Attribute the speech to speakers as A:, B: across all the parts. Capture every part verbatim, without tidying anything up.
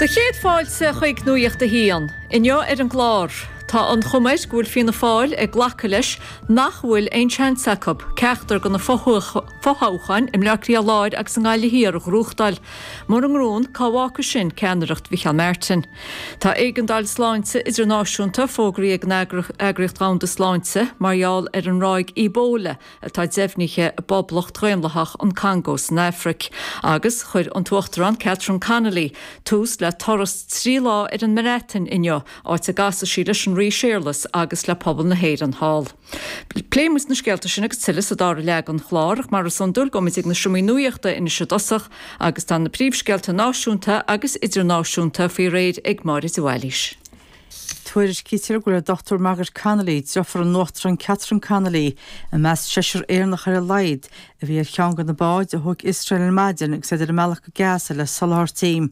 A: Do chéad fáilte chuig Nuacht a hAon, inniu ar an gclár. Tá an chuma air go bhfuil Fianna Fáil ag glacadh leis nach bhfuil aon seans acu ceachtar de na fothoghcháin i mBleá Cliath Láir agus i nGaillimh Thiar a ghnóthachtáil. Mura ngnóthaíonn, cá bhfágfaidh sin ceannaireacht Mhicheál Martin. Tá éigeandáil sláinte idirnáisiúnta fógraithe ag an Eagraíocht Dhomhanda Sláinte mar gheall ar an ráig Ebola atá deimhnithe i bPoblacht Dhaonlathach an Congo san Afraic, agus chuir an tUachtarán Catherine Connolly tús le turas trí lá ar an mBreatain inniu, áit a gcasfaidh sí leis an Rí Séarlas agus le pobal na hÉireann thall. Pléifidh muid na scéalta sin agus tuilleadh sa dara leath den chlár, ach mar is iondúil gabhfaimid ag na seomraí nuachta anois i dtosach agus tá na príomhscéalta náisiúnta agus idirnáisiúnta faoi réir ag Máire de Bhailís.
B: Tuairiscítear go bhfuil an Dochtúir Margaret Connolly, deirfiúr an Uachtaráin Catherine Connolly, i measc seisear Éireannach ar a laghad a bhí ar cheann de na báid a thóg Iosrael ar maidin agus iad ar a mbealach go Gaza le soláthairtí.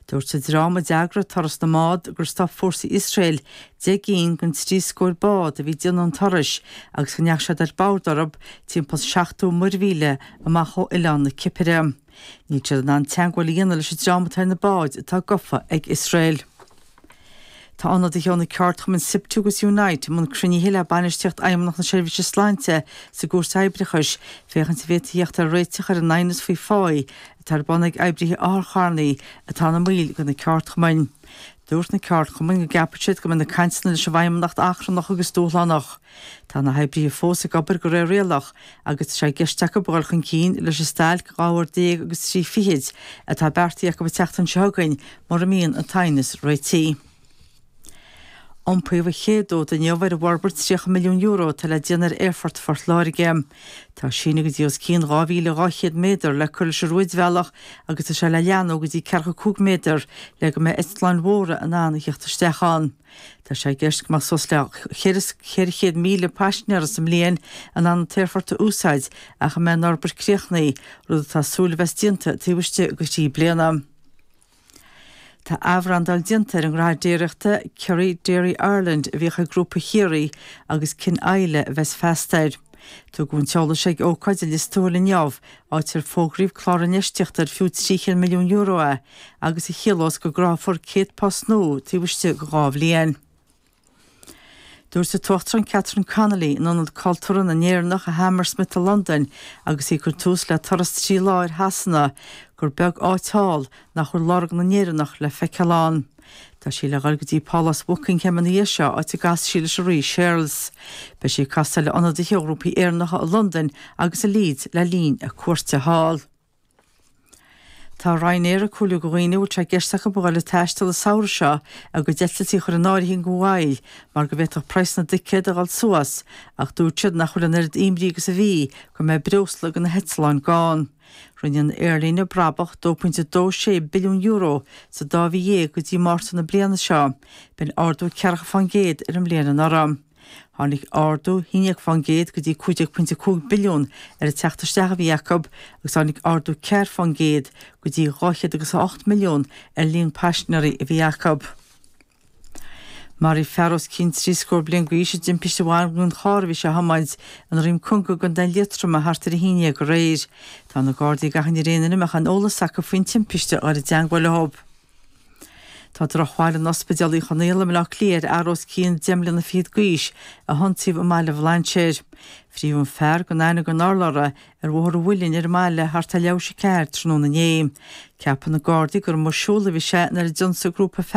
B: Dúirt an dream a d'eagraigh turas na mbád gur stop fórsaí Iosrael deich gcinn den trí scór bád a bhí ag déanamh an turais agus go ndeachaigh siad ar bord orthu timpeall seachtó muirmhíle amach ó oileán na Cipire. Níl siad in ann teagmháil a dhéanamh leis an dream atá ar na báid atá gafa ag Iosrael. Tá ionadaithe ó na ceardchumainn SIPTU agus Unite i mbun cruinnithe le bainistíocht Fheidhmeannacht na Seirbhíse Sláinte sa gCúirt Oibreachais féachaint an bhféadfaí theacht ar réiteach ar an aighneas faoi phá atá ar bun ag oibrithe otharcharranna atá ina mbaill de na ceardchumainn. Dúirt na ceardchumainn go gceapann siad go mbeidh na cainteanna leis an bhFeidhmeannacht achrannach agus dúshlánach. Tá na hoibrithe fós ag obair de réir rialach agus tá sé i gceist acu a dhul chun cinn leis an stailc dhá uair déag agus trí fichid atá beartaithe acu an tseachtain seo chugainn mura mbíonn an t-aighneas réitithe. Iompaíodh an chéad fhód inniu ar an bhforbairt tríocha milliún euro atá le déanamh ar Aerfort Phort Láirge. Tá síneadh go dtí os cionn dhá mhíle dhá chéad méadar le cur leis an rúidbhealach agus tá sé le leathnú go dtí ceathracha cúig méadar le go mbeidh eitleáin mhóra in ann a theacht isteach ann. Tá sé i gceist go mbeadh suas le ceithre chéad míle paisinéara sa mbliain in ann an t-aerfort a úsáid ach a mbeidh an fhorbairt críochnaithe, rud atá súil a bheas déanta taobh istigh de thrí bliana. Tá athbhrandáil déanta ar an ngnóthaire déiríochta Kerry Dairy Ireland a bhíodh ag Grúpa Chiarraí agus Cinn Isle a bheas feasta air. Tugadh an t-eolas ag ócáid i Lios Tuathail inniu, áit ar fógraíodh clár infheistíochta ar fiú trí chéad milliún euro é agus a chiallós go gcruthófar céad post nua taobh istigh de dhá bhliain. Dúirt an tUachtarán Catherine Connolly in Ionad Cultúrtha na nÉireannach i Hammersmith i Londain agus í ag cur tús le turas trí lá ar Shasana gur beag áit thall nach bhfuil lorg na nÉireannach le feiceáil ann. Tá sí le dhul go dtí Pálás Bhuckingham ina dhiaidh seo áit a gcasfaidh sí leis an Rí Séarlas. Beidh sí ag casadh le ionadaithe ó ghrúpaí Éireannacha i Londain agus i Leeds le linn a cuairte thall. Tá Ryanair ag comhairliú do dhaoine a bhfuil sé i gceist acu a dhul ag taisteal an samhradh seo a gcuid eitiltí a chur in áirithe go mall mar go bhféadfadh praghas na dticéad a dhul suas ach dúirt siad nach bhfuil an oiread imní agus a bhí go mbeidh breosla do na heitleáin gann. Rinne an aerlíne brabach dó pointe dó sé billiún euro sa dá mhí dhéag go dtí Márta na bliana seo, b'in ardú ceathracha fán gcéad ar an mbliain anuraidh. Tháinig ardú haon déag fán gcéad go dtí cúig déag pointe cúig billiún ar an teacht isteach a bhí acu agus tháinig ardú ceathair fán gcéad go dtí dhá chéad agus a hocht milliún ar líon paisinéirí a bhí acu. Maraíodh fear os cionn trí scór bliain d'aois i dtimpiste a bhain den charr a bhí sé a thiomáint i nDroim Conga i gContae Liatroma thart ar a haon dhéag aréir. Tá na Gardaí ag achainí ar aon duine a mbeadh aon eolas acu faoin timpiste a dhul i dteangmháil leo. Tá drochbhail in Ospidéal Uí Chonaill i mBaile Átha Cliath ar fhear os cionn deich mbliana fichead d'aois a hionsaíodh i mBaile Bhlainséir. Frítheadh an fear gan aithne gan urlabhra ar Bhóthar an Mhuilinn ar an mbaile thart ar leathuair théis a ceathair tráthnóna inné. Ceapann na Gardaí gur amuigh ag siúl a bhí sé nuair a d'ionsaigh grúpa